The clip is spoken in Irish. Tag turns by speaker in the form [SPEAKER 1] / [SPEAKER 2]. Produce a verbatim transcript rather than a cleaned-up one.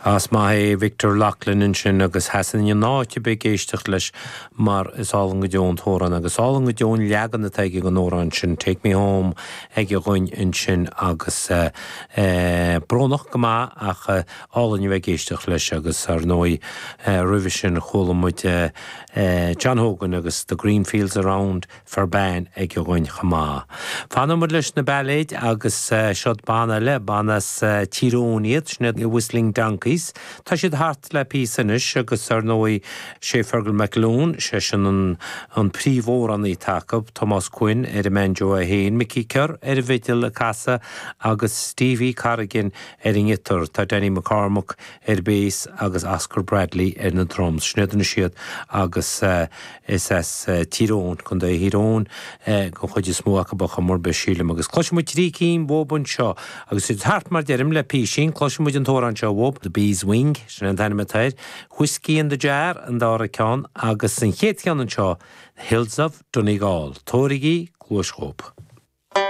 [SPEAKER 1] As maith é Victor Loughlin ansin agus sheasfainn in áit ar bith ag éisteacht leis mar is álainn go deo an t-amhrán agus álainn go deo an leagan atá aige den amhrán sin Take Me Home aige dhúinn ansin agus uh, uh, brónach go maith ach uh, álainn a bheith ag éisteacht leis agus ar ndóigh uh, roimhe sin chuala muid uh, uh, John Hogan agus the Green Fields Around Ferbane aige dhúinn chomh maith. Fanfaidh muid leis na bailéid agus uh, siod banna le banna as uh, Tír Eoghain iad sin Whistling Donkeys. Tá siad thart le píosa anois agus ar ndóigh sé Fergal McAloon sé sin an, an príomhamhránaí acu, Tomás Quinn ar an mbanjo é féin, Mickey Kerr ar an bhfidil ag casadh agus Stevie Carrigan ar an ngiotár, tá Danny McCormack ar bass agus Oscar Bradley ar na drums. Sin iad siad agus uh, is as uh, Tír Eoghain Contae Thír Eoghain uh, den chuid is mó acu ba mar be sílim agus cloisfidh muid trí cinn uathu anseo agus siad thart mar deirim le písín cloisfidh muid an t-amhrán seo uathu The Bees Wing sin an t-ainm atá air, Whiskey in the Jar an dara ceann agus an chéad cheann anseo Hills of Donegal. Tabhairigí cluas dhóibh.